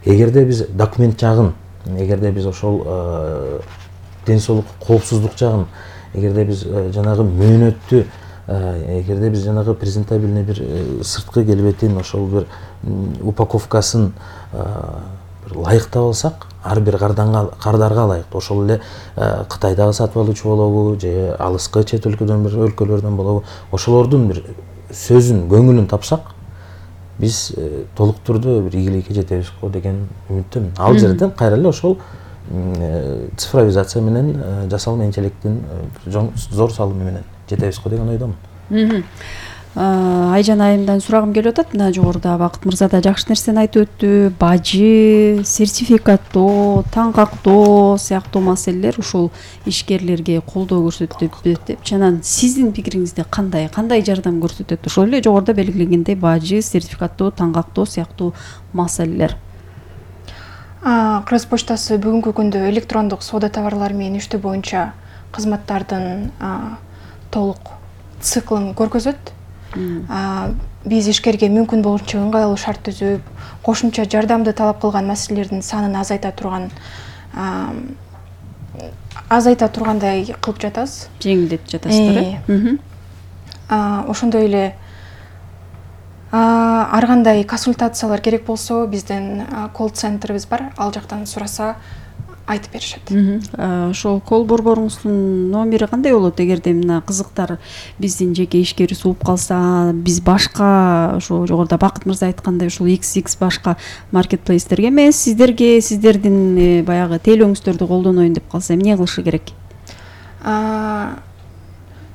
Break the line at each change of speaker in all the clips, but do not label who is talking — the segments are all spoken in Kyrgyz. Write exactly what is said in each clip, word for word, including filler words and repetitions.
эгерде биз документ жагын, эгерде биз ошол ден соолук коопсуздук жагын, эгерде биз жанагы мөөнөттү, эгерде биз жанагы презентабельный бир сырткы келбетин, ошол бир упаковкасын бир ылайыктап алсак, ар бир кардарга ылайыктуу, ошол эле Кытайдагы сатып алуучу болобу же алыскы чет өлкөдөн бир өлкөлөрдөн болобу, ошолордун бир сөзүн, көңүлүн тапсак, биз толук түрдө бир ийгиликке жетебиз го деген үмүттөмүн. Ал жерден кайра эле ошол цифровизация менен жасалма интеллекттин зор салымы менен жетебиз го деген ойдомун.
Айжан айымдан сурагым келип атат. Мына жогоруда Бакыт мырза да жакшы нерсени айтып өттү. Бажы, сертификаттоо, таңгактоо сыяктуу маселелер ушул ишкерлерге колдоо көрсөтүп деп. Чанан сиздин пикириңизде кандай, кандай жардам көрсөтөт? Ошол эле жогоруда белгиленгендей бажы, сертификаттоо, таңгактоо сыяктуу маселелер.
Кыргыз почтасы бүгүнкү күндө электрондук соода товарлары менен иштөө боюнча кызматтардын толук циклын көргөзөт. Биз ишкерге мүмкүн болушунча ыңгайлуу шарт түзүп, кошумча жардамды талап кылган маселелердин санын азайта турган азайта тургандай кылып жатабыз.
Жеңилдетип жатасыздар.
Ошондой эле ар кандай консультациялар керек болсо, биздин колл-центрибиз бар. Ал жактан сураса айтып беришет.
Ошол колл борборуңуздун номери кандай болот? Эгерде мына кызыктар биздин жеке ишкер сууп калса, биз башка ошо жогоруда Бакыт мырза айткандай ушул икс икс башка маркетплейстерге эмес, сиздерге сиздердин баягы тейлөөңүздөрдү колдоноюн деп калса, эмне кылышы керек?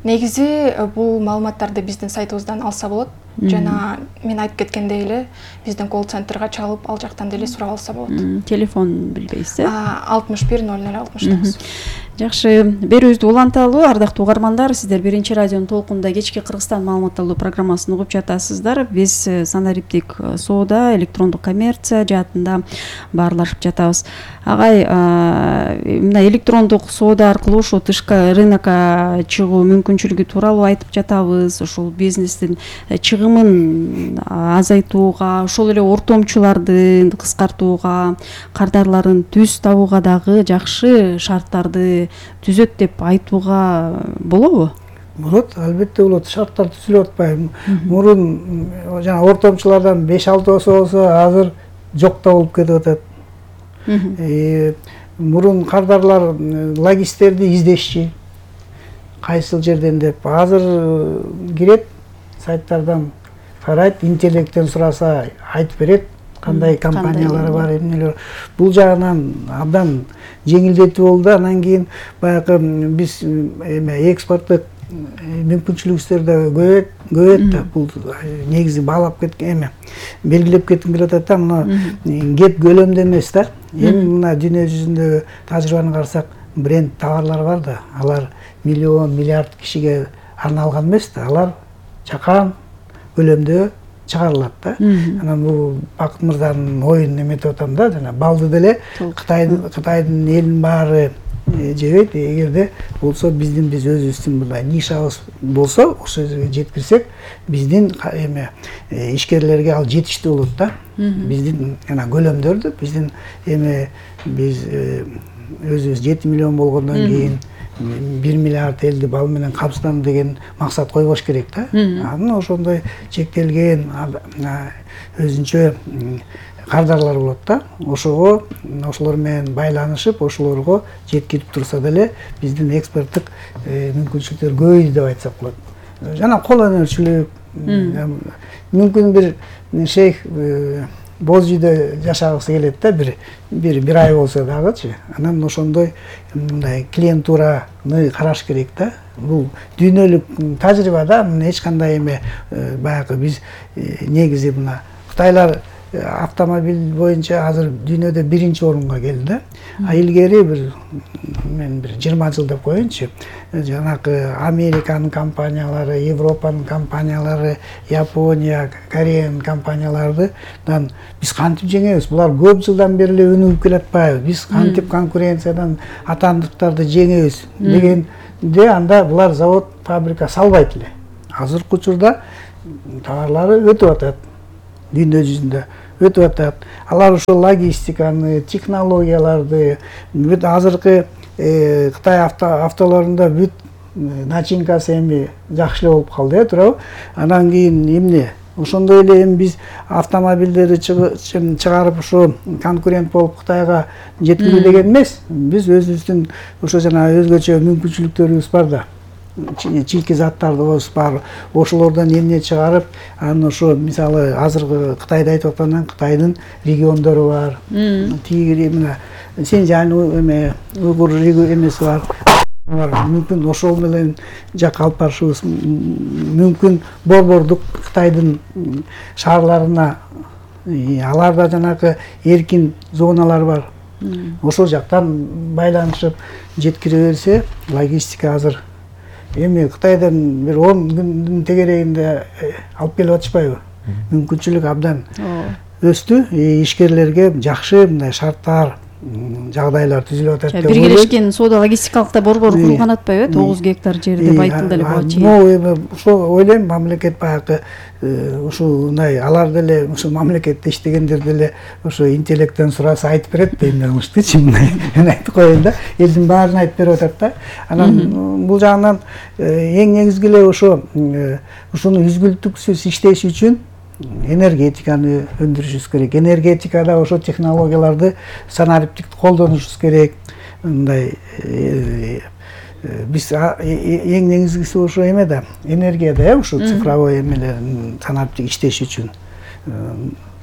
Негизи бул маалыматтарды биздин сайтыбыздан алса болот. Жана мен айтып кеткендей эле биздин колл-центрге чалып, ал жактан деле сурап алса болот.
Телефон билбейсиз, э?
алтымыш бир ноль ноль алтымыш тогуз.
Жакшы, берүүбүздү уланталы. Ардактуу угармандар, сиздер биринчи радионун толкунда кечки Кыргызстан маалыматталуу программасын угуп жатасыздар. Биз санариптик соода, электрондук коммерция жаатында баарлашып жатабыз. Агай, мына электрондук соода аркылуу ошо тышкы рынокко чыгуу мүмкүнчүлүгү тууралуу айтып жатабыз. Ошол бизнестин чыгымын азайтууга, ошол эле ортомчуларды кыскартууга, кардарларын түз табууга дагы жакшы шарттарды түзөт деп айтууга болобу?
Болот, албетте болот. Шарттар түзүлүп атпайбы? Мурун жана ортомчулардан беш алты болсо, азыр жок да болуп кетип атат. Мурун кардарлар логисттерди издешчи, кайсыл жерден деп. Азыр кирет, сайттардан карайт, интернеттен сураса айтып берет, кандай компаниялар бар, эмнелер. Бул жагынан абдан жеңилдетүү болду. Анан кийин баягы биз экспорттук мүмкүнчүлүгүбүздөр да көбөйөт, көбөйөт да. Бул негизи баалап кеткен эме, белгилеп кетким келип атат да. Мына кеп көлөмдө эмес да. Эми мына дүйнө жүзүндө тажрыйбаны карасак, бренд товарлар бар да. Алар миллион, миллиард кишиге арналган эмес да. Алар чакан көлөмдө чыгарылат да. Анан бул Бакыт мырзанын оюн эметип атам да, жана балды деле Кытайдын Кытайдын элин баары жебейт. Эгерде болсо биздин биз өзүбүздүн мындай нишабыз болсо, ошол жерге жеткирсек, биздин эме ишкерлерге ал жетиштүү болот да. Биздин жана көлөмдөрдү, биздин эме биз өзүбүз жети миллион болгондон кийин бир миллиард элди бал менен камсыздануу деген максат койбош керек да. Анан ошондой чектелген өзүнчө кардарлар болот да. Ошого, ошолор менен байланышып, ошолорго жеткирип турса деле биздин экспорттук мүмкүнчүлүктөр көбөйдү деп айтсак болот. Жана кол өнөрчүлүк, мүмкүн бир шейх боз үйдө жашагысы келет да, бир бир бир ай болсо дагычы. Анан ошондой мындай клиентураны караш керек да. Бул дүйнөлүк тажрыйба да, эч кандай эме баягы биз негизи мына Кытайлар автомобиль боюнча азыр дүйнөдө биринчи орунга келди да. А илгери бир мен бир жыйырма жыл деп коеюнчу. Жанагы Американын компаниялары, Европанын компаниялары, Япония, Кореянын компаниялардан биз кантип жеңебиз? Булар көп жылдан бери эле өнүгүп келатпайбы? Биз кантип конкуренциядан атандыктарды жеңебиз дегенде анда булар завод, фабрика салбайт эле. Азыркы учурда товарлары өтүп атат дүйнө жүзүндө. өтүп атат. Алар ушул логистиканы, технологияларды, бүт азыркы Кытай автолорунда бүт начинкасы эми жакшы эле болуп калды, э, туурабы? Анан кийин эмне? Ошондой эле эми биз автомобилдерди чыгарып ушу конкурент болуп Кытайга жеткирүү деген эмес. Биз өзүбүздүн ошо жана өзгөчө мүмкүнчүлүктөрүбүз бар да. Чийки заттарыбыз бар. Ошолордон эмне чыгарып, анан ошо мисалы азыркы Кытайда айтып аткандан Кытайдын региондору бар. Тиги мына Синьцзянь эме уйгур эмеси бар. Мүмкүн ошол менен жакка алып барышыбыз мүмкүн. Борбордук Кытайдын шаарларына аларда жанагы эркин зоналар бар. Ошол жактан байланышып жеткире берсе, логистика азыр эми Кытайдан бир он күндүн тегерегинде алып келип атышпайбы? Мүмкүнчүлүк абдан өстү. Ишкерлерге жакшы мындай шарттар, жагдайлар түзүлүп атат деп ойлойм.
Биргелешкен соода логистикалык борбор курулган атпайбы? тогуз гектар жерде байытылды эле буга чейин.
Эми ошо ойлойм, мамлекет баягы ушундай алар деле ушу мамлекетте иштегендер деле ошо интеллекттен сураса айтып берет да эмне кылыштычы мындай. Мен айтып коеюн да, элдин баарын айтып берип атат да. Анан бул жагынан эң негизги эле ошо ушуну үзгүлтүксүз иштеш үчүн энергетиканы өндүрүшүбүз керек. Энергетикада ошо технологияларды санариптик колдонушубуз керек. Мындай биз эң негизгиси ошо эме да, энергияда, э, ошо цифровой эмелерин санариптик иштеш үчүн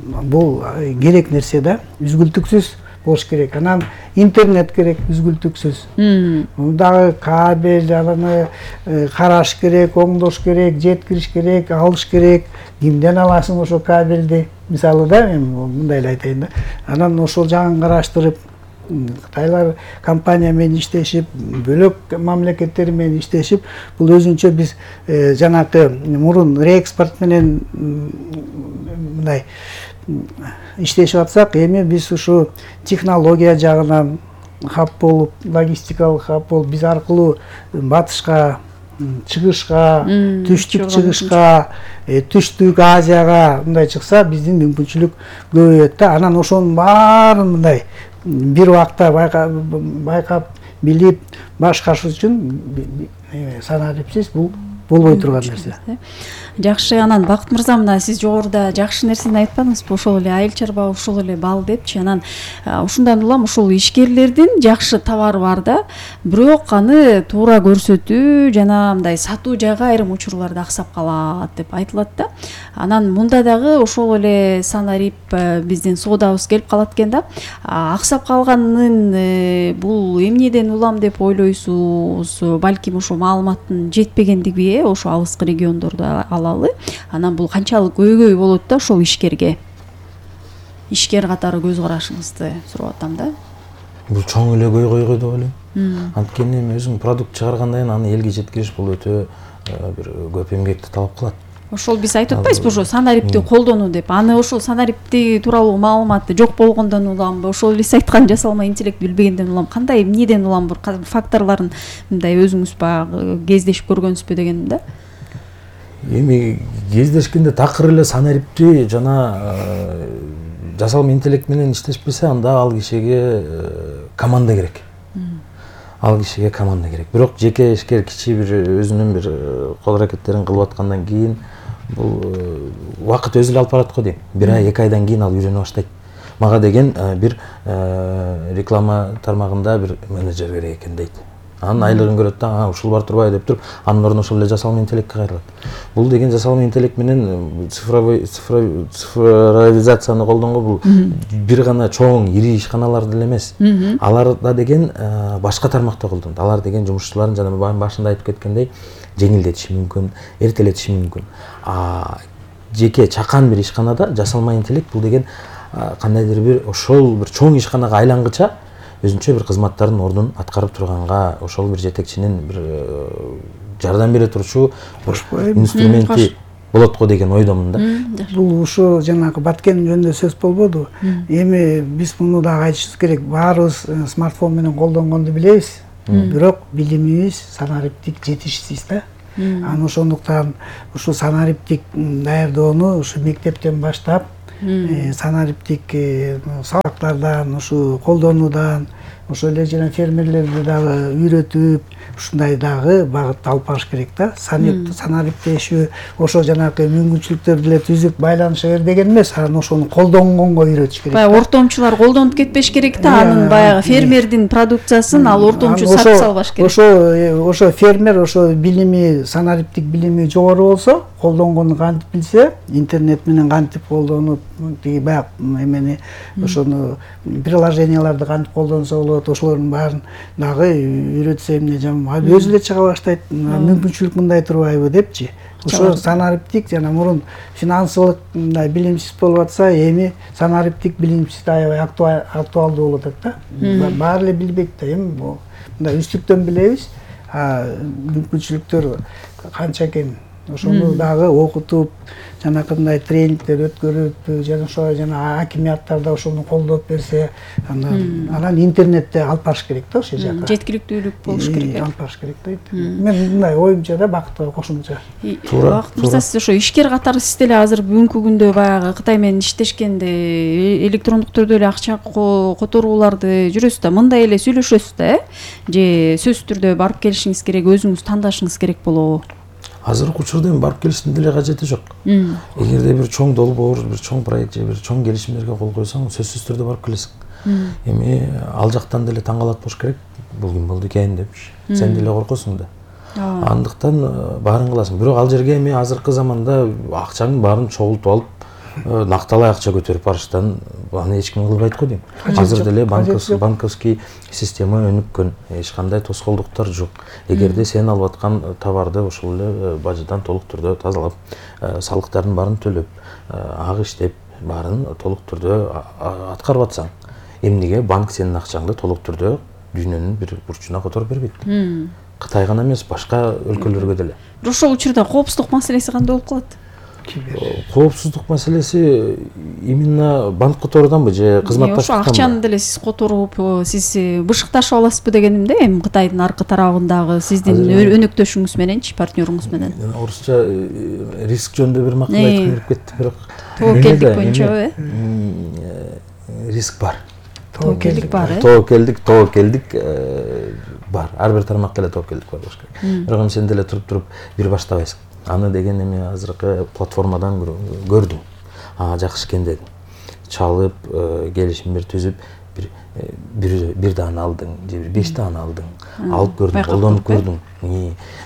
бул керек нерсе да, үзгүлтүксүз болуш керек. Анан интернет керек, үзгүлтүксүз. Дагы кабель, аны караш керек, оңдош керек, жеткириш керек, алыш керек. Кимден аласың ошо кабелди? Мисалы да, мен мындай эле айтайын да. Анан ошол жагын караштырып, Кытайлар компания менен иштешип, бөлөк мамлекеттер менен иштешип, бул өзүнчө биз жанакы мурун реэкспорт менен мындай иштешип атсак, эми биз ушу технология жагынан хаб болуп, логистикалык хаб болуп, биз аркылуу батышка, чыгышка, түштүк чыгышка, түштүк Азияга мындай чыкса, биздин мүмкүнчүлүк көбөйөт да. Анан ошонун баарын мындай бир убакта байкап, билип, башкарыш үчүн санарипсиз бул болбой турган нерсе.
Жакшы, анан Бакыт мырза, мына сиз жогоруда жакшы нерсени айтпадыңызбы? Ошол эле айыл чарба, ошол эле бал депчи. Анан ушундан улам ушул ишкерлердин жакшы товары бар да, бирок аны туура көрсөтүү жана мындай сатуу жагы айрым учурларда аксап калат деп айтылат да. Анан мында дагы ошол эле санарип биздин соодабыз келип калат экен да. Аксап калганын бул эмнеден улам деп ойлойсуз? Балким ошо маалыматтын жетпегендиги, ошо алыскы региондордо алалы. Анан бул канчалык көйгөй болот да ошол ишкерге? Ишкер катары көз карашыңызды сурап атам да.
Бул чоң эле көйгөй деп ойлойм. Анткени эми өзүң продукт чыгаргандан кийин аны элге жеткириш бул өтө бир көп эмгекти талап кылат.
Ошол биз айтып атпайбызбы ошо санарипти колдонуу деп. Аны ошол санарипти тууралуу маалыматты жок болгондон уламбы, ошол эле сиз айткан жасалма интеллект билбегенден улам, кандай эмнеден улам бир факторлорун мындай өзүңүз баягы кездешип көргөнсүзбү дегеним да.
Эми кездешкенде такыр эле санарипти жана жасалма интеллект менен иштешпесе, анда ал кишиге команда керек. Ал кишиге команда керек. Бирок жеке ишкер кичи бир өзүнүн бир кол аракеттерин кылып аткандан кийин бул убакыт өзү эле алып барат го дейм. Бир ай, эки айдан кийин ал үйрөнө баштайт. Мага деген бир реклама тармагында бир менеджер керек экен дейт. Анын айлыгын көрөт да, ушул бар турбайбы деп туруп, анын ордуна ошол эле жасалма интеллектке кайрылат. Бул деген жасалма интеллект менен цифровой цифровизацияны колдонгон бул бир гана чоң ири ишканалар деле эмес. Аларда деген башка тармакта колдонот. Алар деген жумушчуларын жана башында айтып кеткендей жеңилдетиши мүмкүн, эртелетиши мүмкүн. А жеке чакан бир ишканада жасалма интеллект бул деген кандайдыр бир ошол бир чоң ишканага айлангыча өзүнчө бир кызматтардын ордун аткарып турганга, ошол бир жетекчинин бир жардам бере турчу инструменти болот го деген ойдомун да.
Бул ушу жанагы Баткен жөнүндө сөз болбоду. Эми биз муну дагы айтышыбыз керек. Баарыбыз смартфон менен колдонгонду билебиз, бирок билимибиз санариптик жетишсиз да. Анан ошондуктан ушу санариптик даярдоону ушу мектептен баштап санариптик сабактардан ушу колдонуудан ошол эле жана фермерлерди дагы үйрөтүп ушундай дагы багытта алып барыш керек да. Санариптешүү ошо жанагы мүмкүнчүлүктөрдү эле түзүп байланыша бер деген эмес, анан ошону колдонгонго үйрөтүш керек.
Баягы ортомчулар колдонуп кетпеш керек да, анын баягы фермердин продукциясын ал ортомчу сатып салбаш керек.
Ошо ошо фермер ошо билими, санариптик билими жогору болсо, колдонгону кантип билсе, интернет менен кантип колдонуп, тиги баягы эмени ошону приложенияларды кантип колдонсо болот, ошолордун баарын дагы үйрөтсө эмне жаман. Өзү эле чыга баштайт, мүмкүнчүлүк мындай турбайбы депчи. Ошо санариптик жана мурун финансылык мындай билимсиз болуп атса, эми санариптик билимсиз аябай актуалдуу болуп атат да. Баары эле билбейт да, эми мындай үстүктөн билебиз, мүмкүнчүлүктөр канча экен. Ошону дагы окутуп, жанакындай тренингдер өткөрүп, жана ошо жана акимияттарда ошону колдоп берсе, анан интернетте алып барыш керек да ошол жака.
Жеткиликтүүлүк болуш керек.
Алып барыш керек да. Мен мындай оюмча да бакытка кошумча.
Бакыт мырза, сиз ошо ишкер катары сиз деле азыр бүгүнкү күндө баягы Кытай менен иштешкенде электрондук түрдө эле акча которууларды жүрөсүз да, мындай эле сүйлөшөсүз да, э? Же сөзсүз түрдө барып келишиңиз керек, өзүңүз тандашыңыз керек болобу?
Азыркы учурда эми барып келиштин деле кажети жок. Эгерде бир чоң долбоор, бир чоң проект же бир чоң келишимдерге кол койсоң, сөзсүз түрдө барып келесиң. Эми ал жактан деле таң калат болуш керек. Бул ким болду экен депчи. Сен деле коркосуң да. Андыктан баарын кыласың. Бирок ал жерге эми азыркы заманда акчанын баарын чогултуп алып, накталай акча көтөрүп барыштан аны эч ким кылбайт го дейм. Азыр деле банковский система өнүккөн, эч кандай тоскоолдуктар жок. Эгерде сен алып аткан товарды ошол эле бажыдан толук түрдө тазалап, салыктардын баарын төлөп, ак иштеп, баарын толук түрдө аткарып атсаң, эмнеге банк сенин акчаңды толук түрдө дүйнөнүн бир бурчуна которуп бербейт? Кытай гана эмес, башка өлкөлөргө деле.
Ошол учурда коопсуздук маселеси кандай болуп калат?
Коопсуздук маселеси именно банк которууданбы же кызматташтыктанбы?
Ошо акчаны деле сиз которуп, сиз бышыкташып аласызбы дегеним да, эми Кытайдын аркы тарабындагы сиздин өнөктөшүңүз мененчи, партнерыңыз менен.
Орусча риск жөнүндө бир макал айткым келип кетти, бирок
тобокелдик боюнча,
э? Риск бар.
Тобокелдик бар, э?
Тобокелдик, тобокелдик бар. Ар бир тармакта эле тобокелдик бар болуш керек. Бирок эми сен деле туруп туруп бир баштабайсың. Аны деген эми азыркы платформадан көрдүм. Ага жакшы экен дедим. Чалып, келишимдер түзүп, бир бир бир дааны алдың, же бир беш дааны алдың. Алып көрдүң, колдонуп көрдүң.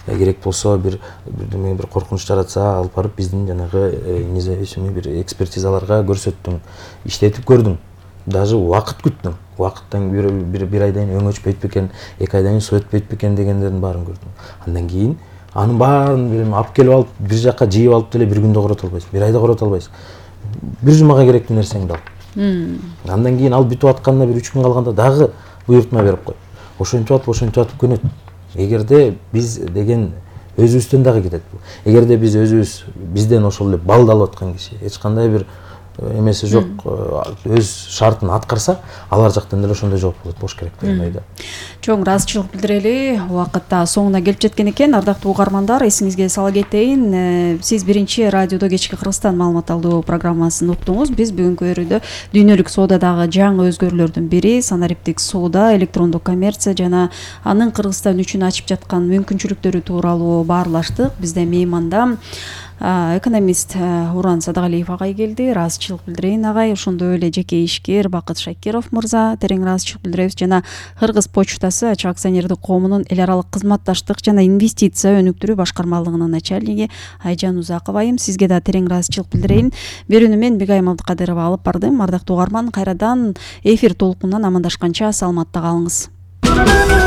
Керек болсо бир бир коркунуч жаратса, алып барып биздин жанагы независимый бир экспертизаларга көрсөттүң, иштетип көрдүң. Даже убакыт күттүң. Убакыттан бир бир айдан кийин өң өчпөйт бекен, эки айдан кийин суу өтпөйт бекен дегендердин баарын көрдүм. Андан кийин анын баарын билем алып келип алып бир жака жыйып алып деле бир күндө корото албайсың, бир айда корото албайсың. Бир жумага керектүү нерсеңди ал. Андан кийин ал бүтүп атканына бир үч күн калганда дагы буйртма берип кой. Ошентип атып, ошентип атып көнөт. Эгерде биз деген өзүбүздөн дагы кетет бул. Эгерде биз өзүбүз бизден ошол эле балды алып аткан киши эч кандай бир эмеси жок, өз шартын аткарса, алар жактан деле ошондой жооп болуш керек деген ойдо.
Чоң ыраазычылык билдирели. Убакытта соңуна келип жеткен экен. Ардактуу угармандар, эсиңизге сала кетейин, сиз биринчи радиодо кечки Кыргызстан маалымат алуу программасын уктуңуз. Биз бүгүнкү өрүүдө дүйнөлүк соодадагы жаңы өзгөрүүлөрдүн бири санариптик соода, электрондук коммерция жана анын Кыргызстан үчүн ачып жаткан мүмкүнчүлүктөрү тууралуу баарлаштык. Бизде мейманда экономист Уран Садагалиев агай келди. Ыраазычылык билдирейин агай. Ошондой эле жеке ишкер Бакыт Шакиров мырза, терең ыраазычылык билдиребиз. Жана Кыргыз почтасы ачык акционердик коомунун эл аралык кызматташтык жана инвестиция өнүктүрүү башкармалыгынын начальниги Айжан Узакова айым. Сизге да терең ыраазычылык билдирейин. Берүүнү мен Бегайым Абдыкадырова алып бардым. Ардактуу угарман, кайрадан эфир толкунунан амандашканча саламатта калыңыз.